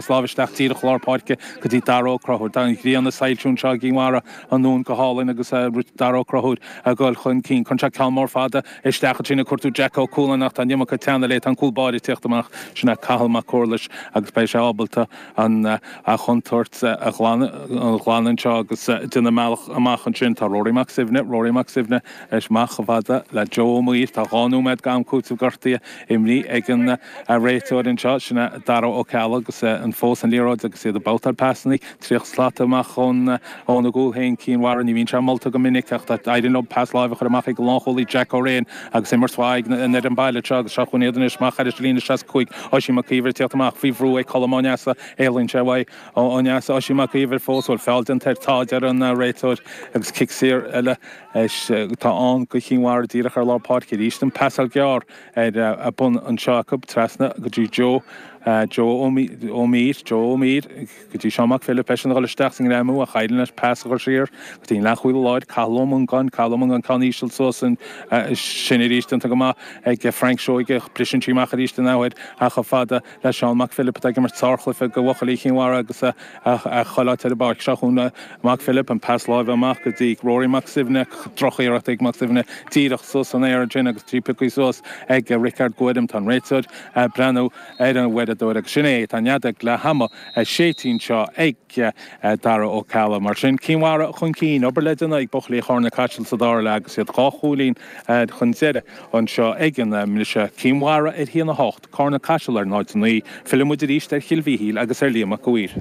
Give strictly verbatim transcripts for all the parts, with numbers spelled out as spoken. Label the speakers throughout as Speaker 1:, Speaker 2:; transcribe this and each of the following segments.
Speaker 1: Lámh isteach díreach lár páirce go dtí Dara Ó Conchúir. Tá an ghrian ag soilsiú anseo i gCinn Mhara an Dúin go hálainn agus Dara Ó Conchúir ag dul chun cinn. Cuireann sé ceann mór fada isteach ansin ag cuartú Jack Ó Cualáin ach tá an iomarca teanna léi. Tá an cúl báire ag tíocht amach. Sin é Cathal Mac Cúrlais agus beidh sé ábalta an chontúirt a ghlanadh anseo agus déanamh a mbealach amach ansin. Tá Rory Mac Suibhne, Rory Mac Suibhne amach chomh fada le Joe Ó Maoil. Tá dhá nóiméad d'am cúitimh gortaithe imrithe ag an réiteoir anseo. Sin é Dara Ó Ceallaigh agus an fós an liathróid agus iad ag babhtáil pasanna tríocha slat amach ón óna gcúl féin Cinn Mhara. Ní bhíonn sé molta go minic ach éiríonn leo pas láimhe a chur amach ag an lánchúlaí Jack O'Rane agus imirt mhaith ag an fhoireann baile anseo agus seo chugainn iad anois amach thar líne seasca cúig Oisín Mac Íomhair ag tíocht amach faoi bhrú ag Colm Ó Neasa. Éalaíonn sé uaidh Ó Neasa Oisín Mac Íomhair fós bhfuil feall déanta air tá a deir an réiteoir agus cic saor eile atá ann do Chinn Mhara díreach ar lár páirce arís an pasáil gearr ar bun anseo acu trasna go dtí Joe Joe Ó Mír Joe Ó Mír go dtí Seán Mac Philip eisean a dhul isteach sa ngreamú ach éiríonn leis pas a chur siar go dtí an leathchúlaí láir Cathal Ó Mongáin Cathal Ó Mongáin ceann íseal suas sin arís déanta go maith ag Frank Seoige briseann sí amach arís an athuair ach chomh fada le Seán Mac Philip atá ag imirt sárchluiche do bhuachaillí Chinn Mhara agus a chuile áit ar an bpáirc. Seo chugainn Mac Philip an pas láimhe amach go dtí Rory Mac Suibhne drochiarracht ag Mac Suibhne díreach suas san aer ansin agus trí pioctha suas ag Rickard Guarim. Tá an réiteoir ag breathnú ar an uaireadóir agus sin é, tá an fheadóg leath ama séidte anseo ag Dara Ó Ceallaigh. Mar sin, Cinn Mhara chun cinn, obair le déanamh ag buachaillí Charna Caiseal sa dara leath agus iad dhá chúilín chun deiridh anseo ag an mbriseadh. Cinn Mhara ar a haon a hocht, Carna Caiseal ar náid a naoi. Filleann muid arís ar Chill Mhichíl agus ar Liam Mac a' Mhaoir.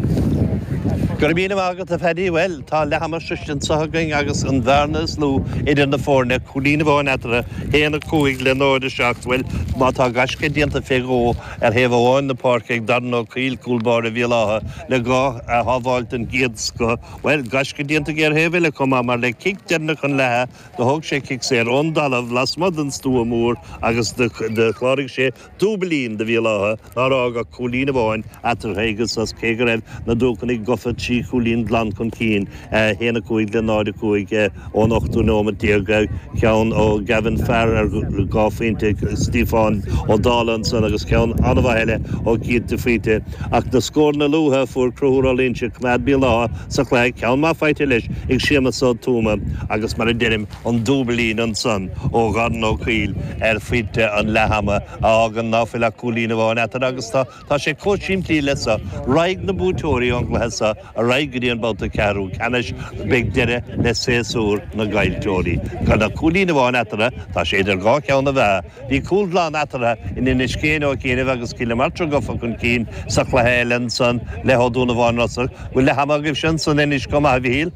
Speaker 2: Go raibh míle maith agat, a Phaddy. Bhuel, tá leath ama sroichte anseo againn agus an bhearna is lú idir na foirne, cúilín amháin eatarthu, haon a cúig le náid a seacht. Bhuel, má tá gaisce déanta fé dhó ar thaobh amháin na páirce ag Darren Ó Cuill, cúl báire Bhéal Átha, le dhá shábháil den gcéad scoth, bhuel, gaisce déanta aige ar thaobh eile chomh maith, mar le cic deireanach an leatha, do thóg sé cic saor ón dtalamh lasmuigh den stua mór agus do chláraigh sé dúbailín do Bhéal Átha nár fhág ach cúilín amháin eatarthu ag an sos cé go raibh na Dúchanaigh gofa trí chúilín glan chun cinn, a haon a cúig le náid a cúig ón ochtú nóimeat déag, ceann ó Gavin Farr ar dhá phointe, Stiofán Ó Dálaigh ansan agus ceann an-mhaith eile ó Keith de Faoite. Ach na scóranna luatha a fuair Conchúr Ó Loingsigh, choimeád Béal Átha sa chluiche, ceann maith faighte leis ag Séamus Ó Tuama agus mar a deirim, an dúbailín ansan ó Dharren Ó Cuill ar phointe an leath-ama a fhágann ná fuil ach cúilín amháin eatarthu agus tá tá sé chomh simplí le so. Raghaidh na buaiteoirí ón gcluiche so ar aghaidh go dtí an babhta ceathrú ceannais, beidh deireadh le séasúr na gcaillteoirí. Gan ach cúilín amháin eatarthu, tá sé idir dhá cheann na meá. Bhí cúl glan eatarthu in Inis Céin ó chianaibh agus Cill na Martra gafa chun cinn sa chluiche eile ansan le Ó Dúnabháin Rosa. Bhfuil leath ama agaibhse ansan anois chomh maith, a Mhichíl?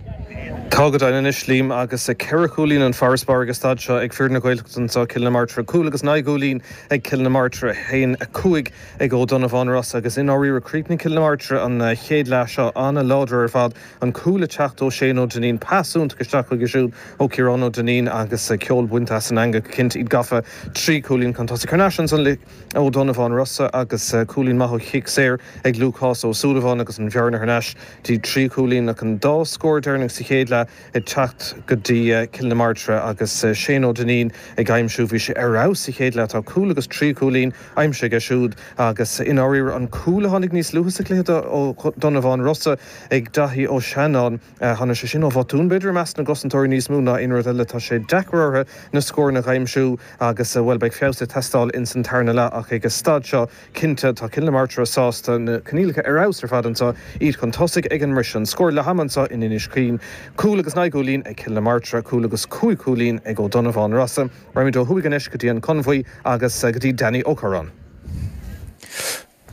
Speaker 3: Tá go deimhin anois, Liam, agus ceithre chúilín an farasbarr ag an staid seo ag fir na Gaeltachta anseo, Cill na Martra, cúl agus naoi gcúilín ag Cill na Martra, haon a cúig ag Ó Donnabháin Rosa agus i ndáiríre chríochnaigh Cill na Martra an chéad leath seo an-láidir ar fad, an cúl ag teacht ó Shane Ó Duinnín, pas iontach isteach chuige siúd ó Ciarán Ó Duinnín agus ceol bainte as an eangach go cinnte, iad gafa trí chúilín chun tosaigh. Thar n-ais ansan le Ó Donnabháin Rosa agus cúilín maith ó chic saor ag Lúcás Ó Súilleabháin agus an bhearna thar n-ais dtí trí chúilín ach an dá scór deireanach sa chéad leath ag teacht go dtí Cill na Martra agus Shane Ó Duinnín ag aimsiú, bhí sé ar fheabhas sa chéad leath, tá cúl agus trí chúilín aimsithe aige siúd agus i ndáiríre an cúl a tháinig níos luaithe sa chluiche do Ó Donnabháin Rosa ag Daithí Ó Seanáin, tháinig sé sin ó bhotún b'fhéidir i measc na gcosantóirí níos mó ná aon rud eile, tá sé deacair orthu na scóranna a aimsiú agus bhuel beidh feabhas ag teastáil ins an tarna leath ach ag an staid seo Cinnte, tá Cill na Martra sásta, na coinníollacha ar fheabhas ar fad anseo, iad chun tosaigh ag an mbriseadh. An scór leath ama anseo in Inis Caoin, cúl agus naoi gcúilín ag Cill na Martra, cúl agus cúig chúilín ag Ó Donnabháin Rosa. Raghaimid ó thuaidh anois go dtí an Conmhaí agus go dtí Danny Ó Curráin.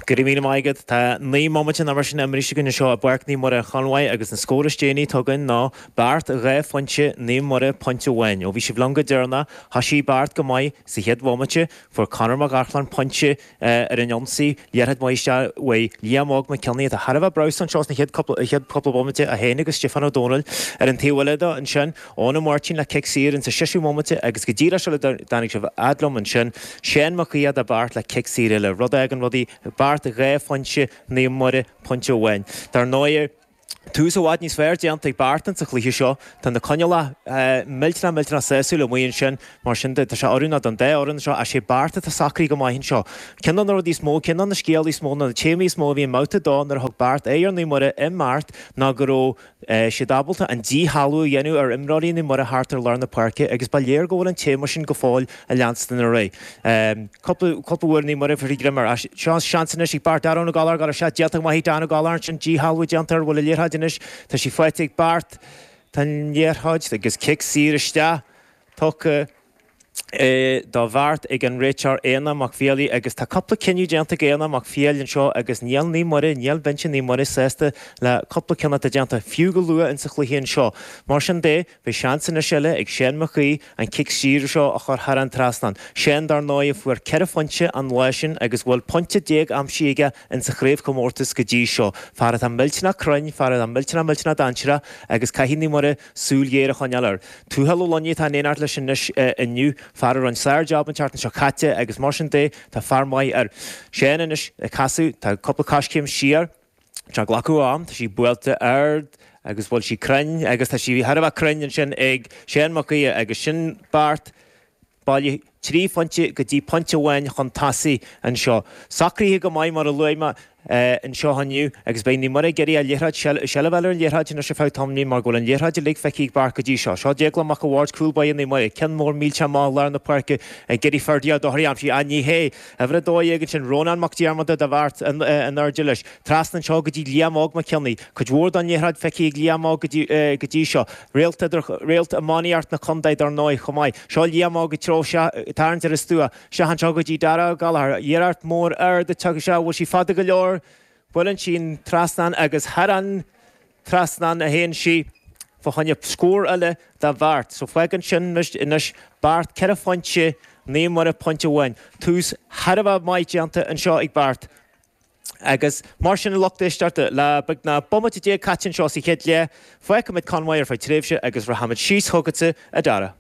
Speaker 4: Go raibh míle maith agat. Tá naoi mbomaite nó mar sin imeartha againn anseo i bPáirc Naomh Muire an Chonmhaigh agus an scór is déanaí atá againn ná Beart dhá phointe, Naomh Muire pointe amháin. Ó bhí sibh liom go deireanach, thoisigh Beart go maith sa chéad bhomaite, fuair Conor Mac Arcláin pointe ar an ionsaí, liathróid mhaith isteach uaidh Liam Óg Mac Cionnaith atá thar a bheith breabhsánta anseo sna chéad cúpla chéad cúpla bomaite, é féin agus Stiofán Ó Dónaill ar an taobh eile de ansin, Eoin Ó Máirtín le cic saor insa seisiú bomaite agus go díreach sula dtáinig sibh fhad liom ansin, Seán Mac Aodha do Beart le cic saor eile, rud a fhágann rudaí Beart dhá phointe, Naomh Muire pointe amháin. Dar ndóigh. Tús i bhfad níos fearr déanta ag Beart sa chluiche seo. Tá na coinníollacha millteanach millteanach sásúil amuigh ansin, mar sin de tá sé oiriúnach don dá fhoireann seo ach sé Beart atá socraithe go maith anseo. Ceann de na rudaí is mó, ceann de na scéalta is mó, nó na téamaí is mó a bhí i mbabhta a dó nuair a thug Beart aghaidh ar Naomh Muire i mBeart ná go raibh siad ábalta an díshealbhú a dhéanamh ar imreoirí Naomh Muire thart ar lár na páirce agus ba léir go bhfuil an téama sin go fóill ag leanstan ar aghaidh. Cúpla cúpla uair Naomh Muire fuair greim air. Seo seans anois ag Beart Darragh Ó Gallchóir go raibh sé déanta go maith ag Dan Ó Gallchóir ansin díshealbhú déanta air bhfuil an liathróid anois tá sí faighte ag Beart tá an liathróid agus cic saor isteach tugtha do Bheart ag an réiteoir Éanna Mac Fiallaigh agus tá cúpla cinneadh déanta ag Éanna Mac Fiallaigh anseo agus níl Naomh Muire, níl binse Naomh Muire sásta le cúpla cinneadh atá déanta fiú go luath insa chluiche anseo. Mar sin de, beidh seans anois eile ag Shane Mac Aoidh an cic saor seo a chur thar an trasnán. Shane dar ndóigh a fuair ceithre phointe an lá sin agus bhfuil pointe déag aimsithe aige insa chraobhchomórtas go dtí seo. Fear atá millteanach cruinn, fear atá millteanach millteanach dainséarach agus caithfidh Naomh Muire súil ghéar a choinneáil air. Tuathal Ó Loinsigh atá in éineacht leis anois inniu, fear a rinne sár-jab an tseachtain seo caite agus mar sin de tá fear maith air. Shane anois ag casadh, tá cúpla coiscéim siar, tá ag glacadh am, tá sí buailte ard agus bhfuil sí cruinn agus tá sí thar a bheith cruinn ansin ag Shane Mac Aoidh agus sin Beart bailithe trí phointe go dtí pointe amháin chun tosaigh anseo. Socraithe go maith mar a luaigh mé anseo inniu agus beidh Naomh Muire ag iarraidh an liathróid, seilbh a fháil ar an liathróid anois ar feadh tamaillín mar go bhfuil an liathróid uilig feicthe ag Beart go dtí seo. Seo Déaglán Mac a' Bhaird, cúl báire Naomh Muire, ceann mór millteach amach i lár na páirce ag iarraidh Ferdia Ó Dochartaigh a aimsiú. Ach ní hé. Uimhir a dó dhéag ansin, Rónán Mac Diarmada do Bheart in airde leis. Trasna anseo go dtí Liam Óg Mac Cionnaith. Cuid mhór den liathróid feicthe ag Liam Óg go dtí seo. Réalt idir, réalt iománaíocht na contae dar ndóigh chomh maith. Seo Liam Óg ag treo ag tarraingt ar an stua. Isteach anseo go dtí Dara Ó Gallchóir. Iarracht mór ard ag teacht isteach. Bhfuil sí fada go leor? Buaileann sí an trasnán agus thar an trasnán a théann sí fá choinne scór eile do Bheart. So fágann sin anois Beart ceithre phointe, Naomh Muire pointe amháin. Tús thar a bheith maith déanta anseo ag Beart. Agus mar sin a lucht éisteachta, le beagnach bomaite déag caite anseo sa chéad leath, fágfaimid Conmhaigh ar feadh tréimhse agus rachaimid síos chugatsa, a Dara.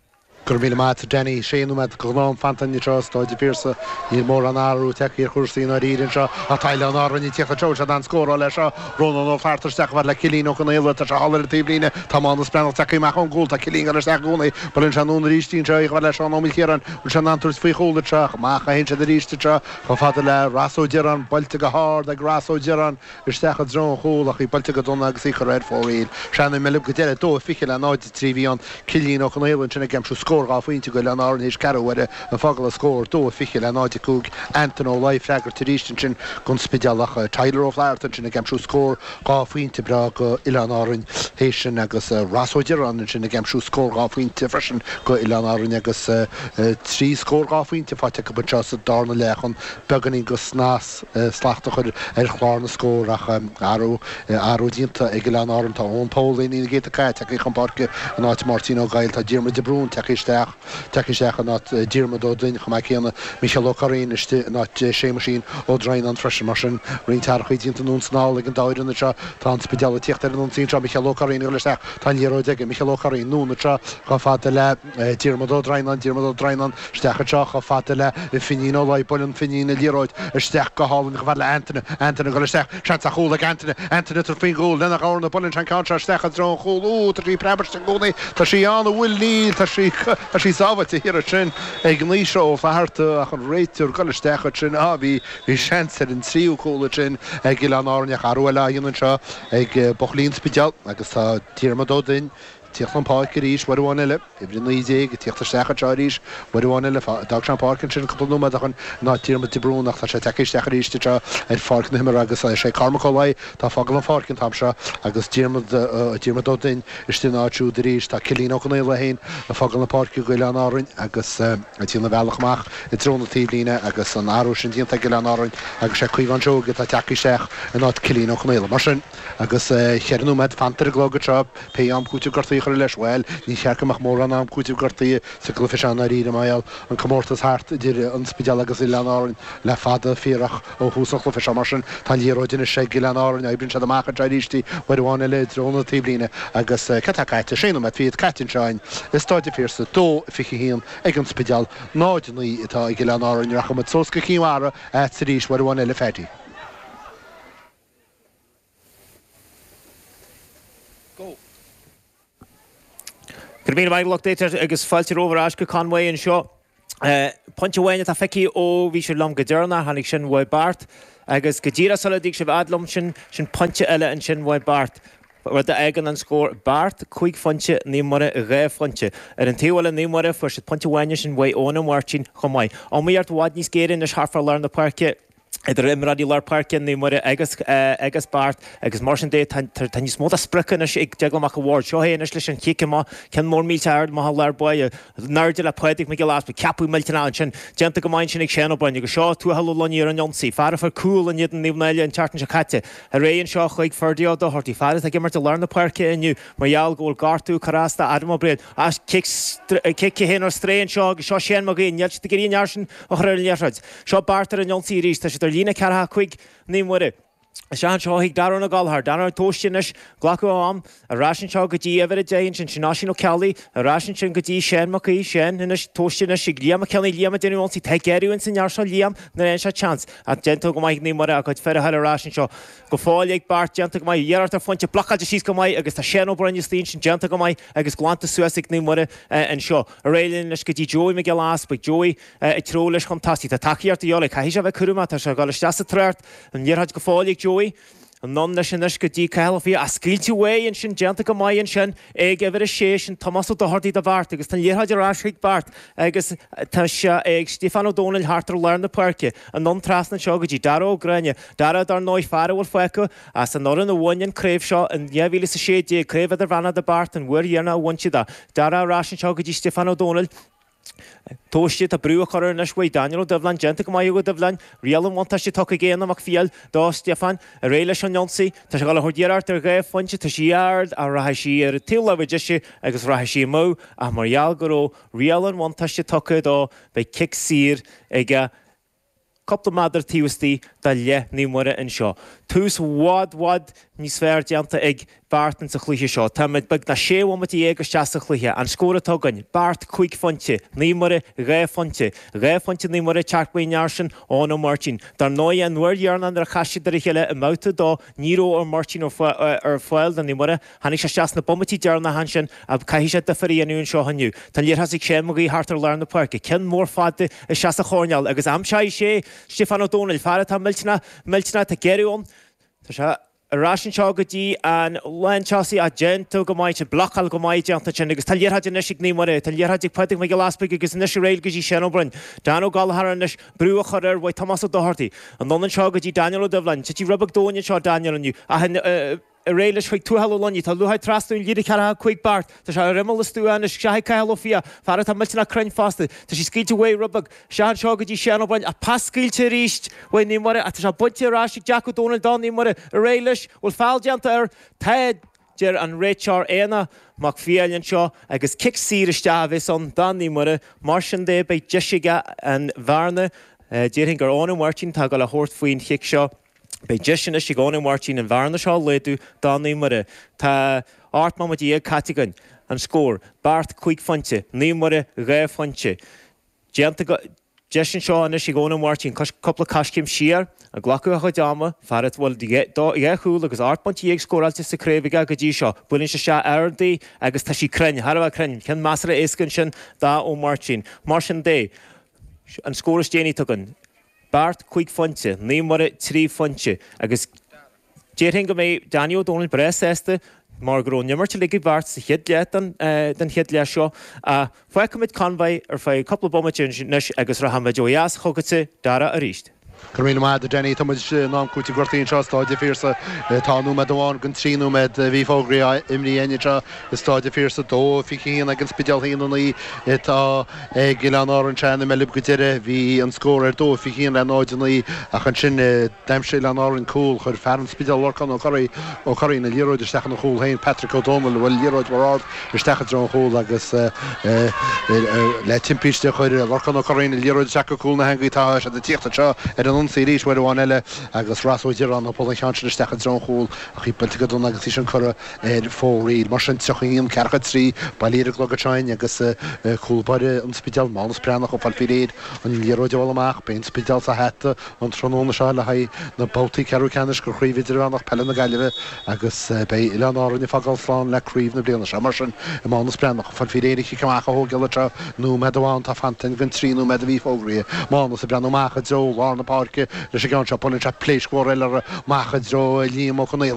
Speaker 5: Go raibh míle maith agat, a Danny. Sé nóiméad go ghnáth am fanta anseo i Stáid an Phiarsaigh. Níl mórán athrú tagtha ar chúrsaí i ndáiríre anseo ach tá Oileáin Árann ag tíocht anseo. Bhfuil siad in ann scóráil leis seo? Rónán Ó Flatharta isteach chomh fada le Cillian Ó Conaola. Tá sé thall ar an taobhlíne. Tá Mánus Breathnach tagtha amach ón gcúl. Tá Cillian ag dul isteach i gcónaí. Buaileann sé anonn arís anseo í chomh fada le Seán Ó Maoilchiaráin. Bhfuil sé in ann tabhairt faoi chúl anseo? Ach amach a théann siad arís anseo chomh fada le Ross Ó Direáin. Buailte go hard ag Ross Ó Direáin isteach i dtreo an chúil ach í buailte go dona agus í curtha ar fóraoil. Sean i mBeilg go deireadh, dó fiche le náid a trí bhí ann. Cillian Ó Conaola ansin ag aimsiú scór dhá phointe go Oileáin Árann théis ceathrú uaire ag fágáil an scór dó fiche le náid a cúig Anton Ó Laoi ag freagairt arís ansin don Spidéal ach Tyler Ó Flatharta ansin ag aimsiú scór dhá phointe breá go Oileáin Árann théis sin agus Ross Ó Direáin ansin ag aimsiú scór dhá phointe freisin go Oileáin Árann agus trí scór dhá phointe faighte acu anseo sa darna leath chun beagáinín go snas slacht a chur ar chlár na scór ach athrú athrú déanta ag Oileáin Árann. Tá Eoin Pól Uimhir a ceathair tagtha chun páirce in áit Máirtín Ó Gaill. Tá Diarmuid de Brún tagtha isteach tagtha isteach in áit Diarmuid Ó Duinn chomh maith céanna. Micheál Ó Curraoin istigh in áit Séamuisín Ó Droighneáin freisin. Mar sin, roinnt athrachaí déanta anonn is anall ag an dá fhoireann anseo. Tá an Spidéal ag tíocht ar an ionsaí anseo. Micheál Ó Curraoin ag dul isteach. Tá an liathróid aige. Micheál Ó Curraoin anonn anseo chomh fada le Diarmuid Ó Droighneáin. Diarmuid Ó Droighneáin isteach anseo chomh fada le Finín Ó Laoi. Buaileann Finín an liathróid isteach go hálainn chomh fada le Antaine. Antaine ag dul isteach. Seans ar chúl ag Antaine. Antaine ag tabhairt faoin gcúl lena dhorna. Buaileann sé an ceann seo isteach i dtreo an chúil. Ó, tá sí ag preabadh istigh i gcónaí. Tá sí ann, an bhfuil? Níl. Tá sí, tá sí sábháilte thiar ansin ag Naoise Ó Flatharta ach an réiteoir ag dul isteach ansin. Á, bhí, bhí seans ar an tríú cúl ansin ag Oileáin Árann ach athrú eile á dhéanamh anseo ag buachaillí an Spidéil agus tá Diarmuid Ó Duinn ag tíocht chun páirce arís uair amháin eile. Uimhir a naoi déag ag tíocht isteach anseo arís uair amháin eile. D'fhág sé an pháirc ansin cúpla nóiméad ó shin in áit Diarmuid de Brún ach tá sé tagtha isteach arís anseo ar pháirc na himeartha agus is é Cormac Ó Laoi atá ag fágáil an pháirc an t-am seo agus Diarmuid Diarmuid Ó Duinn istigh ina áit siúd arís. Tá Cillian Ó Conaola é féin ag fágáil na páirce go Oileáin Árainn agus ag déanamh a bhealach amach i dtreo na taobhlíne agus an athrú sin déanta ag Oileáin Árainn agus sé Caomhán Seoige atá tagtha isteach in áit Cillian Ó Conaola. Mar sin, agus cheithre nóiméad fanta ar an gclog anseo, pé am cúiteamh gortaithe a chur leis, bhuel, ní cheart go mbeadh mórán am cúiteamh gortaithe sa gcluiche seo i ndáiríre, mar gheall an comórtas thart idir an Spidéal agus Oileáin Árann le fada fíorach ó thús an chluiche seo. Mar sin, tá an liathróid anois ag Oileáin Árainn, oibríonn siad amach anseo arís í uair amháin eile i dtreo na taobhlíne agus cad tá caite? Sé nóiméad fichead caite anseo againn i Stáid an Phiarsaigh, dó fiche a haon ag an Spidéal, náid a naoi atá ag Oileáin Árainn. Rachaidh muid suas go Cinn Mhara agatsa arís uair amháin eile, Phaddy.
Speaker 4: Go raibh míle maith lucht éisteachta agus fáilte romhaibh ar ais go Conway anseo. Pointe amháin atá feicthe ó bhí sibh liom go deireanach, tháinig sin uaidh Beart agus go díreach sula dtig sibh fhad liom sin, sin pointe eile ansin uaidh Beart. Rud a fhágann an scór Beart cúig phointe, Naomh Muire dhá phointe. Ar an taobh eile Naomh Muire fuair siad pointe amháin ansin uaidh Eoin Ó Máirtín chomh maith. Iomaíocht i bhfad níos géire anois thart fá lár na páirce. idir imreoirí lár páirce Naomh Muire agus agus Beart agus mar sin de tá níos mó de sprioc anois ag Déaglán Mac a' Bhaird. Seo é anois leis an chic amach, ceann mór millteach ard amach i lár báire, in airde le Pádraig Mac Giolla Easpaig, ceapadh millteanach ansin, déanta go maith ansin ag Seán Ó Broin agus seo Tuathal Ó Luiní ar an ionsaí, fear a fuair cúl in éadan Naomh Náille an tseachtain seo caite. Ar aghaidh anseo chuig Ferdie Ó Dochartaigh, fear atá ag imirt i lár na páirce inniu mar gheall go bhfuil gortú curtha as do Adam Ó Briain. As cic cic a haon ar strae anseo agus seo Shane Mag Aoidh, níl siad ag iarraidh an fhear sin a chur ar an liathróid. Seo Beart ar an ionsaí arís, tá siad ar líne ceathracha cúig Naomh Muire. Isteach anseo chuig Darren Ó Gallchóir, Darren ag tomhas anois, glacadh a am, ar ais anseo go dtí uimhir a deich ansin, sin Oisín Ó Ceallaigh, ar ais ansin go dtí Seán Mac Aoidh, Seán anois, tomhaiste anois ag Liam Mac Cionnaith, Liam ag déanamh ionsaí, tá ag géarú ins an fhear seo Liam nuair a fhaigheann sé chance, ach déanta go maith ag Naomh Muire a gcuid fir a chur ar ais anseo go fóill ag Beart, déanta go maith, iarracht ar phointe, blocáilte síos go maith agus tá Seán Ó Broin istigh ansin, déanta go maith agus glanta suas ag Naomh Muire anseo. Ar aghaidh linn anois go dtí Joey Mac Giolla Easpaig, Joey ag treabhadh leis chun tosaigh. Tá tacaíocht de dhíobháil air. Caithfidh sé a bheith cúramach. Tá sé ag dul isteach sa trácht. An liathróid go fóill ag Joey. Anonn leis anois go dtí Cathal Ó Fiaich. Ach scaoilte uaidh ansin, déanta go maith ansin ag uimhir a sé, sin Tomás Ó Dochartaigh do Bheart agus tá an liathróid ar ais chuig Beart agus tá sé ag Stiofán Ó Domhnaill thart ar lár na páirce. Anonn trasna anseo go dtí Dara Ó Gráinne. Dara, dar ndóigh, fear a bhfuil fágtha as an fhoireann a bhain an craobh seo in dhá mhíle is a sé déag, Craobh Idirmheánach do Beart, an uair dheireanach a bhain siad é. Dara ar ais anseo go dtí Stiofán Ó Domhnaill. Tomhaiste, tá brú á chur air anois uaidh Daniel Ó Doibhleáin, déanta go maith ag Ó Doibhleáin, riail an bhuntáiste tugtha ag Éanna Mac Fiail do Stiofán, ar aghaidh leis an ionsaí, tá sé ag dul a thabhairt iarracht ar dhá phointe, tá sí ard ach rachaidh sí ar an taobh láimhe deise agus rachaidh sí amú ach mar gheall go raibh riail an bhuntáiste tugtha dó beidh cic saor aige. Cúpla méadar taobh istigh de leath Naomh Muire anseo. Tús i bhfad bhfad níos fearr déanta ag Beart insa chluiche seo. Táimid beagnach sé bhomaite dhéag isteach sa chluiche. An scór atá againn, Beart cúig phointe, Naomh Muire dhá phointe. Dhá phointe Naomh Muire ag teacht uaidh an fhear sin, Eoin Ó Máirtín. Dar ndóigh an uair dheireanach nuair a chas siad ar a chéile i mbabhta a dó ní raibh Ó Máirtín ar fáil do Naomh Muire. Tháinig sé isteach sna bomaití deireanacha ansin ach caithfidh sé difear a dhéanamh anseo inniu. Tá an liathróid ag Shane Mag Aoidh thart ar lár na páirce. Ceann mór fada isteach sa choirnéal agus aimseoidh sé Stiofán Ó Domhnaill, fear atá millteanach, millteanach, tá géarú ann. Tá sé ar ais anseo go dtí an lántosaí ach déanta go maith, tá blocáil go maith déanta ansin agus tá liathróid anois ag Naomh Muire, tá liathróid ag Pádraig Mac Giolla Easpaig agus anois ar aghaidh go dtí Seán Ó Broin. Dan Ó Gallchóir anois, brú á chur air uaidh Tomás Ó Dochartaigh. Anonn anseo go dtí Daniel Ó Doibhleáin. Titfidh rud beag domhain anseo Daniel inniu ach Ar aghaidh leis chuig Tuathal Ó Luiní. Tá liathróid trasna an líne ceathracha cúig beart. Tá sé ar imeall an stua anois. Isteach ag Cathal Ó Fiaich. Fear atá millteanach cruinn fosta. Tá sí scaoilte uaidh rud beag. Isteach anseo go dtí Seán Ó Broin. Ach pas scaoilte arís uaidh Naomh Muire ach tá sé bainte ar ais ag Jack Ó Dónaill do Naomh Muire. Ar aghaidh leis. Bhfuil feall déanta air? Tá, deir an réiteoir Éanna Mac Fiail anseo agus cic saor isteach a bheas ann do Naomh Muire. Mar sin de beidh deis aige an bhearna, déarfainn gur Eoin Ó Máirtín atá ag dul a thabhairt faoin chic seo. Beidh deis anois ag Eoin Ó Máirtín an bhearna seo a laghdú do Naomh Muire. Tá ocht mbomaite dhéag caite againn. An scór, Beart cúig phointe, Naomh Muire dhá phointe. Déanta go. Deis anseo anois ag Eoin Ó Máirtín cúpla coiscéim siar, ag glacadh a chuid ama, fear a bhfuil dhá chúl agus ocht bpointe dhéag scóráilte sa chraobh aige go dtí seo. Buaileann sé isteach ard í agus tá sí cruinn, thar a bheith cruinn. Ceann measartha éasca ansin do Ó Máirtín. Mar sin de, an scór is déanaí atá againn. Beart cúig phointe, Naomh Muire trí phointe agus déarfainn go mbeidh Danny Ó Dónaill breá sásta mar go raibh an imirt uilig ag Beart sa chéad leath den chéad leath seo. Ach fágfaimid Conmhaigh ar feadh cúpla bomaite anois agus rachaimid ó dheas chugatsa, Dara, arís.
Speaker 5: Go raibh míle maith agat, a Danny. Tá muid in am cúitimh gortaithe anseo i Stáid an Phiarsaigh. Tá nóiméad amháin den trí nóiméad a bhí fógraithe imrithe againn anseo i Stáid an Phiarsaigh. Dó fiche a haon ag an Spidéal, haon a naoi atá ag Oileáin Árann. Sea, i mbeilb go deireadh bhí an scór ar dó fiche a haon le náid a naoi ach ansin d'aimsigh Oileáin Árann cúl. Chuir fear an Spidéil Lorcán Ó Curraoin Ó Curraoin an liathróid isteach ina chúl féin. Patrick Ó Dónaill bhuail an liathróid mór ard isteach i dtreo an chúil agus le timpiste chuir Lorcán Ó Curraoin an liathróid isteach go cúl na heangaí. Tá siad ag tíocht anseo ar ar an ionsaí arís uair amháin eile agus Ross Ó Direáin ag bualadh an cheann sin isteach i dtreo an chúil ach í buailte go dona agus í sin curtha ar fóraoil. Mar sin, tríocha a haon, ceathracha a trí, bailithe ar an gclog anseo againn agus cúl báire an Spidéil, Mánus Breathnach, ag fáil faoi réir an liathróid a bhualadh amach. Beidh an Spidéal sa hata an tráthnóna seo le haghaidh na babhtaí ceathrú ceannais de Chraobh Idirmheánach Peile na Gaillimhe agus beidh Oileáin Árann ag fágáil slán le craobh na bliana seo. Mar sin, Mánus Breathnach, ag fáil faoi réir an chic amach a thógáil anseo, nóiméad amháin atá fanta den trí nóiméad a bhí fógraithe. Mánus ag breathnú amach i dtreo lár na páirce leis an gceann seo. Buaileann sé pléasc mhór eile amach i dtreo Liam Ó Conaola.